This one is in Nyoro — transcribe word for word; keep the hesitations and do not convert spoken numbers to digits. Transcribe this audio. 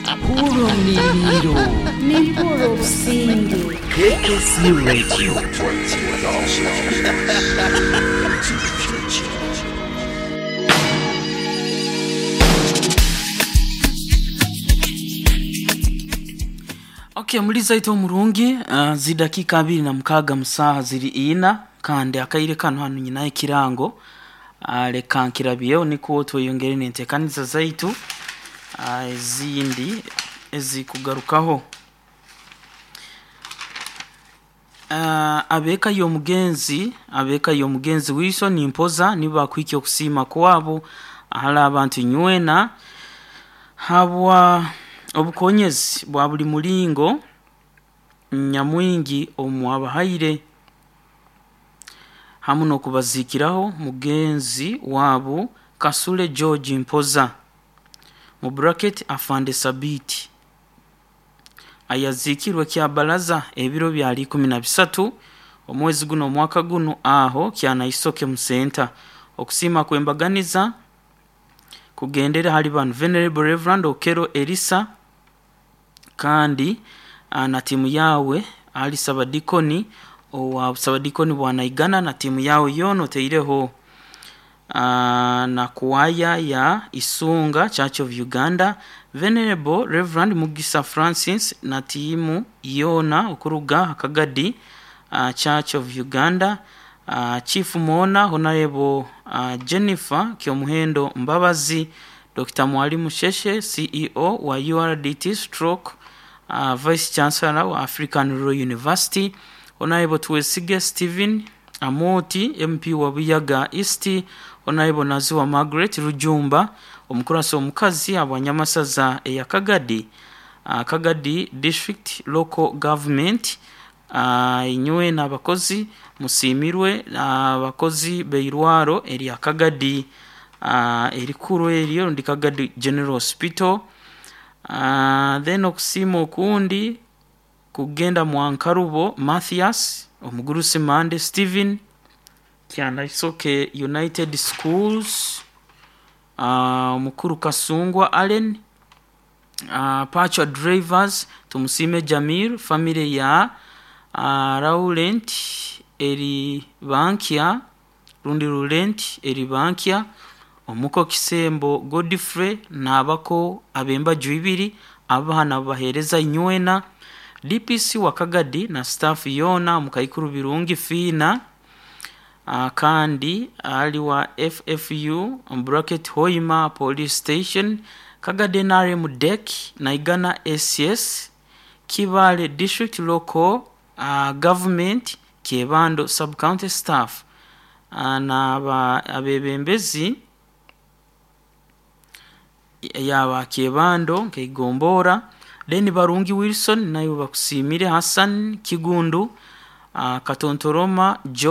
Hurra omuniriro. Nimpurra obusinge. K K C Radio. Okay, muri zaitu omurungi, uh, zidakika abiri na mukaaga musaha ziri ina, kandi akaire kano hanu nyinayo ekirango, uh, leka nkirabyeho nikwo tweyongere n'enteekaniza zaitu uh, ezindi ezikugarukaho. uh, abeeka y'omugenzi abeeka y'omugenzi Wilson Mpoza nibo bakuhikya okusiima kwabo ahali abantu nywena habwa obukonyezi bwa buli mulingo nyamwingi omwabahaire hamu n'okubaziikiraho mugenzi waabo Kasule George Mpoza, mu bracket Afande Sabiti, ayaziikirwe Kyabalaza ebiro byali ikumi na bisatu omwezi guno omwaka guno aho Kyanaisoke Musenta. Okusiima kwembaganiza kugendera hali banu: Venerable Reverend Okero Elisa kandi ah, na timu yawe, ali sabadikoni owa sabadikoni bwanaigana na timu yawe yoona, oteireho uh, na kuwaya ya Isunga Church of Uganda, Venerable Reverend Mugisa Francis na timu yoona okuruga Akagadi uh, Church of Uganda, uh, Chief Mona, Honorable uh, Jennifer Kyomuhendo Mbabazi, Doctor Mwalimu Sheshe, C E O wa U R D T stroke uh, Vice Chancellor wa African Rural University, Honorable Twesige Stephen Amoti, M P wa Buyaga East, Honorable Naziwa Margaret Rujumba, omukurasi omukazi abwanyamasaza eya Kagadi, uh, Kagadi District Local Government. uh, inywe n'abakozi musiimirwe, abakozi beirwaro erya Kagadi, uh, erikuru eryo ndi Kagadi General Hospital. uh, then okusiima okundi kugenda Mwankarubo Mathias, omugurusi Mande Stephen, Kyanaisoke United Schools, uh, omukuru Kasungwa Allen, uh, Pachwa Drivers, Tumusiime Jamir, family ya uh, Laurent eri Bankya rundi Rulent eri Bankya, omuko Kisembo Godfrey n'abako ab'embaju ibiri abaana babaheereza inywena, D P C wa Kagadi na staff yoona, mukaikuru Birungi Fiina, uh, kandi ali wa F F U bracket Hoima Police Station, Kagadi N R M dek, Naigana S S, Kibale District Local uh, Government, Kyebando Subcounty staff, uh, n'aba abebembezi yaba Kyebando nkeigombora. Then Barungi Wilson nayo bakusiimire, Hassan Kigundu, uh, Katontoroma John.